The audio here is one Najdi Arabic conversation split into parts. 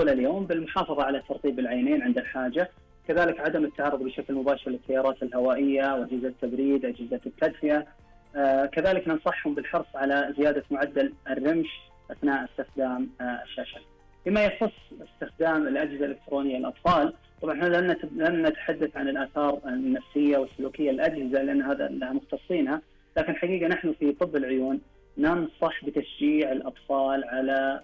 طول اليوم بالمحافظة على ترطيب العينين عند الحاجة، كذلك عدم التعرض بشكل مباشر للتيارات الهوائية وأجهزة التبريد، أجهزة التدفئة. كذلك ننصحهم بالحرص على زيادة معدل الرمش أثناء استخدام الشاشة. فيما يخص استخدام الأجهزة الإلكترونية للأطفال، طبعا لن نتحدث عن الآثار النفسية والسلوكية للأجهزة لأن هذا لها مختصينها، لكن حقيقة نحن في طب العيون ننصح بتشجيع الأطفال على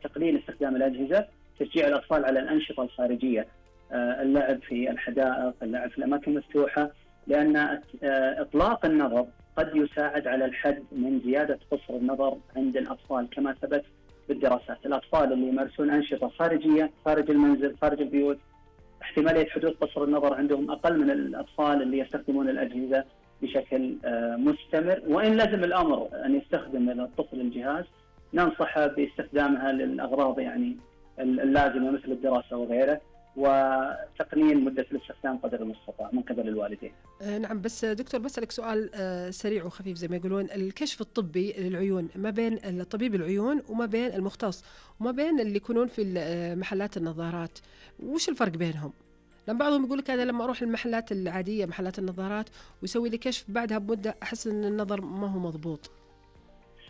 تقليل استخدام الأجهزة، تشجيع الأطفال على الأنشطة الخارجية، اللعب في الحدائق، اللعب في الأماكن المفتوحة، لأن إطلاق النظر قد يساعد على الحد من زيادة قصر النظر عند الأطفال كما ثبت بالدراسات. الأطفال اللي يمارسون أنشطة خارجية خارج المنزل خارج البيوت احتمالية حدوث قصر النظر عندهم أقل من الأطفال اللي يستخدمون الأجهزة بشكل مستمر. وإن لزم الأمر أن يستخدم الطفل الجهاز ننصحه باستخدامها للأغراض يعني اللازمة مثل الدراسة وغيره، وتقنين مدة الاستخدام قدر المستطاع من قبل الوالدين. نعم، بس دكتور بسألك سؤال سريع وخفيف زي ما يقولون، الكشف الطبي للعيون ما بين طبيب العيون وما بين المختص وما بين اللي يكونون في محلات النظارات، وش الفرق بينهم؟ لأن بعضهم يقول لك أنا لما أروح المحلات العادية محلات النظارات ويسوي لي كشف بعدها بمدة أحس أن النظر ما هو مضبوط.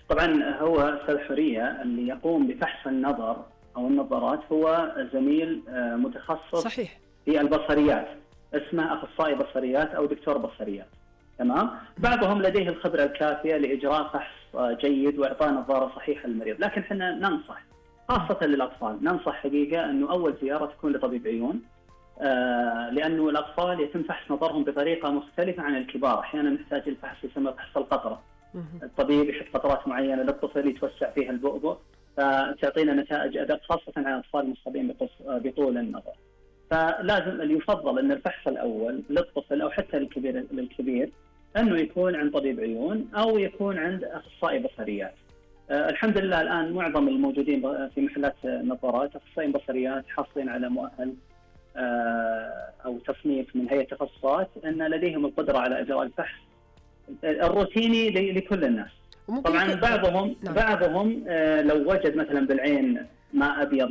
طبعا هو أستاذ حورية اللي يقوم بفحص النظر أو النظارات هو زميل متخصص صحيح في البصريات، اسمه أخصائي بصريات أو دكتور بصريات. تمام. بعضهم لديه الخبرة الكافية لإجراء فحص جيد وإعطاء نظارة صحيحة للمريض، لكن احنا ننصح خاصة للأطفال، ننصح حقيقة أنه أول زيارة تكون لطبيب عيون، لأنه الأطفال يتم فحص نظرهم بطريقة مختلفة عن الكبار. أحيانا نحتاج الفحص يسمى فحص القطرة، الطبيب يحط قطرات معينة للطفل يتوسع فيها البؤبؤ فتعطينا نتائج أدق خاصة على الأطفال المصابين بطول النظر. فلازم يفضل أن الفحص الأول للطفل أو حتى للكبير أنه يكون عند طبيب عيون أو يكون عند أخصائي بصريات. الحمد لله الآن معظم الموجودين في محلات النظارات أخصائيين بصريات حاصلين على مؤهل أو تصنيف من هيئة التخصصات أن لديهم القدرة على إجراء الفحص الروتيني لكل الناس. طبعا بعضهم لو وجد مثلا بالعين ما أبيض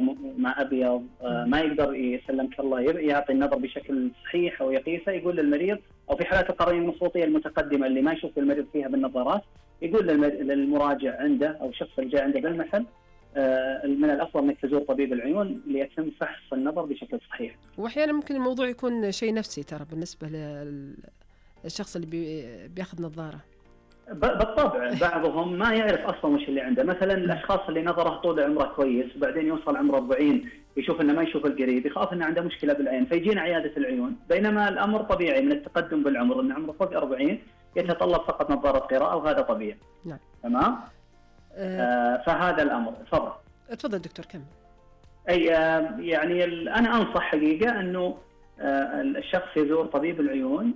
ما يقدر يسلمك الله يعطي النظر بشكل صحيح أو يقيسه، يقول للمريض، أو في حالات القرنية المخروطية المتقدمة اللي ما يشوف المريض فيها بالنظارات يقول للمراجع عنده أو الشخص اللي جاء عنده بالمحل من الأفضل أنك تزور طبيب العيون ليتم فحص النظر بشكل صحيح. وأحيانا ممكن الموضوع يكون شيء نفسي ترى بالنسبة للشخص اللي بياخذ نظارة. بالطبع بعضهم ما يعرف أصلا وش اللي عنده، مثلا الأشخاص اللي نظره طول عمره كويس وبعدين يوصل عمره 40 يشوف إنه ما يشوف القريب يخاف إنه عنده مشكلة بالعين فيجينا عيادة العيون، بينما الأمر طبيعي من التقدم بالعمر إن عمره فوق 40 يتطلب فقط نظارة قراءة وهذا طبيعي. نعم. تمام. فهذا الأمر. تفضل دكتور كمل. يعني أنا أنصح حقيقة إنه الشخص يزور طبيب العيون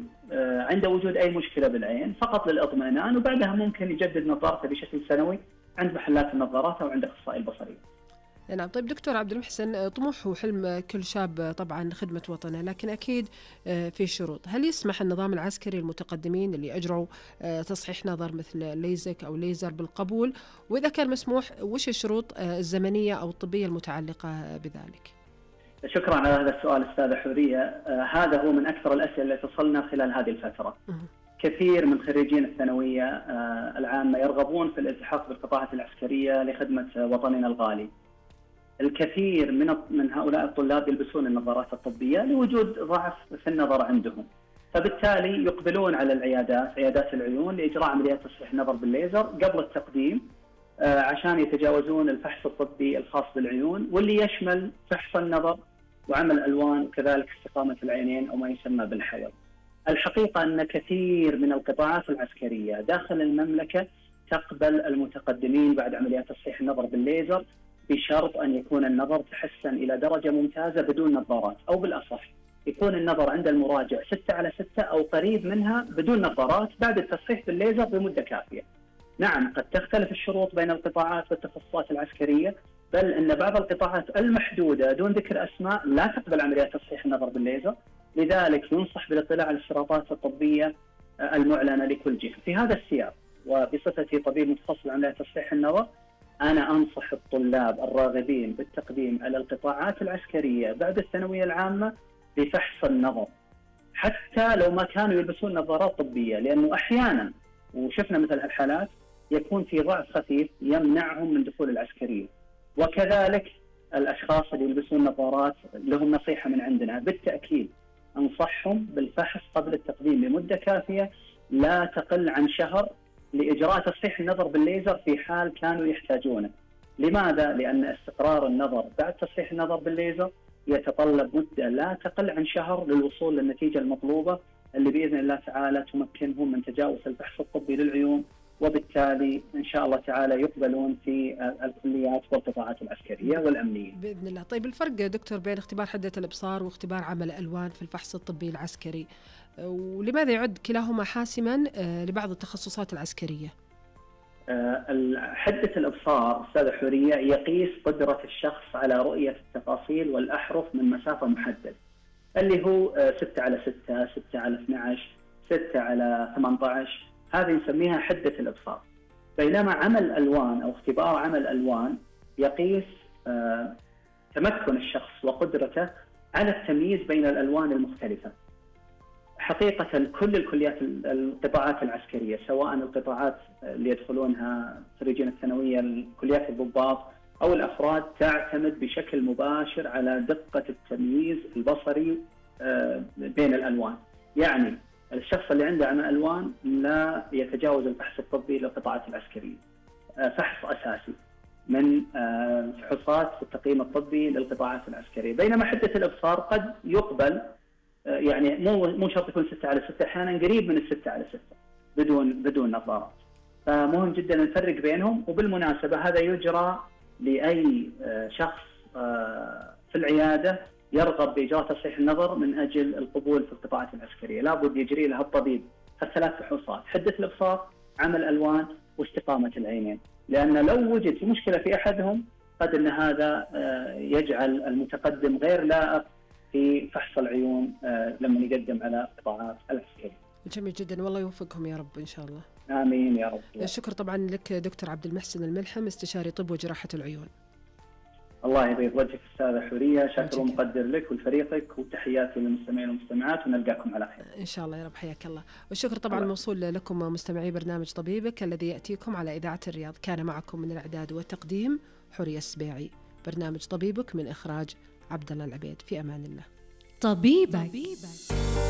عند وجود أي مشكلة بالعين فقط للإطمئنان، وبعدها ممكن يجدد نظارته بشكل سنوي عند محلات النظارات أو عند أخصائي البصري. نعم. طيب دكتور عبد المحسن، طموح وحلم كل شاب طبعا خدمة وطنه، لكن أكيد في شروط. هل يسمح النظام العسكري المتقدمين اللي أجروا تصحيح نظر مثل ليزك أو ليزر بالقبول؟ وإذا كان مسموح وش الشروط الزمنية أو الطبية المتعلقة بذلك؟ شكرا على هذا السؤال أستاذة حورية. هذا هو من أكثر الأسئلة التي تصلنا خلال هذه الفترة. كثير من خريجين الثانوية العامة يرغبون في الالتحاق بالقطاعات العسكرية لخدمة وطننا الغالي. الكثير من هؤلاء الطلاب يلبسون النظارات الطبية لوجود ضعف في النظر عندهم، فبالتالي يقبلون على عيادات العيون لإجراء عمليات تصحيح النظر بالليزر قبل التقديم عشان يتجاوزون الفحص الطبي الخاص بالعيون واللي يشمل فحص النظر وعمل الألوان وكذلك استقامة العينين أو ما يسمى بالحول. الحقيقة أن كثير من القطاعات العسكرية داخل المملكة تقبل المتقدمين بعد عمليات تصحيح النظر بالليزر بشرط أن يكون النظر تحسن إلى درجة ممتازة بدون نظارات، أو بالأصح يكون النظر عند المراجع 6/6 أو قريب منها بدون نظارات بعد التصحيح بالليزر بمدة كافية. نعم قد تختلف الشروط بين القطاعات والتخصصات العسكرية، بل أن بعض القطاعات المحدودة دون ذكر أسماء لا تقبل عمليات تصحيح النظر بالليزر، لذلك ينصح بالاطلاع على الاشتراطات الطبية المعلنة لكل جهة. في هذا السياق وبصفتي طبيب متخصص بعمليات تصحيح النظر أنا أنصح الطلاب الراغبين بالتقديم على القطاعات العسكرية بعد الثانوية العامة بفحص النظر، حتى لو ما كانوا يلبسون نظارات طبية، لأنه أحيانا وشفنا مثل هالحالات يكون في ضعف خفيف يمنعهم من دخول العسكرية. وكذلك الأشخاص اللي يلبسون نظارات لهم نصيحة من عندنا، بالتأكيد أنصحهم بالفحص قبل التقديم لمدة كافية لا تقل عن شهر لإجراء تصحيح النظر بالليزر في حال كانوا يحتاجونه. لماذا؟ لأن استقرار النظر بعد تصحيح النظر بالليزر يتطلب مدة لا تقل عن شهر للوصول للنتيجة المطلوبة اللي بإذن الله تعالى تمكنهم من تجاوز الفحص الطبي للعيون، وبالتالي إن شاء الله تعالى يقبلون في الكليات والقطاعات العسكرية والأمنية بإذن الله. طيب الفرق دكتور بين اختبار حدة الإبصار واختبار عمل الألوان في الفحص الطبي العسكري، ولماذا يعد كلاهما حاسما لبعض التخصصات العسكرية؟ حدة الإبصار أستاذة حورية يقيس قدرة الشخص على رؤية التفاصيل والأحرف من مسافة محددة، اللي هو 6/6، 6/12، 6/18، هذه نسميها حدة الإبصار. بينما عمل الألوان أو اختبار عمل الألوان يقيس تمكن الشخص وقدرته على التمييز بين الألوان المختلفة. حقيقة كل الكليات القطاعات العسكرية، سواء القطاعات اللي يدخلونها خريجين الثانوية كليات الضباط أو الأفراد، تعتمد بشكل مباشر على دقة التمييز البصري بين الألوان. يعني الشخص اللي عنده عمى ألوان لا يتجاوز الفحص الطبي للقطاعات العسكرية، فحص أساسي من فحوصات التقييم الطبي للقطاعات العسكرية. بينما حدة الإبصار قد يقبل، يعني مو شرط يكون 6/6، أحيانا قريب من 6/6 بدون نظارات. فمهم جدا نفرق بينهم. وبالمناسبة هذا يجرى لأي شخص في العيادة يرغب بإجراء تصحيح النظر من أجل القبول في القطاعات العسكرية، لابد يجري لها الطبيب الثلاث فحوصات: حدة الإبصار، عمل الألوان، واستقامة العينين. لأن لو وجد في مشكلة في أحدهم قد أن هذا يجعل المتقدم غير لائق في فحص العيون لما يقدم على القطاعات العسكرية. جميل جدا، والله يوفقهم يا رب إن شاء الله. آمين يا رب. الشكر طبعا لك دكتور عبد المحسن الملحم، استشاري طب وجراحة العيون. الله يبيض وجهك أستاذة حورية، شكر ومقدر لك ولفريقك، وتحياتي للمستمعين والمستمعات، ونلقاكم على خير إن شاء الله يا رب. حياك الله. والشكر طبعا موصول لكم مستمعي برنامج طبيبك الذي يأتيكم على إذاعة الرياض. كان معكم من الإعداد والتقديم حورية السبيعي. برنامج طبيبك من إخراج عبد الله العبيد. في أمان الله. طبيبك.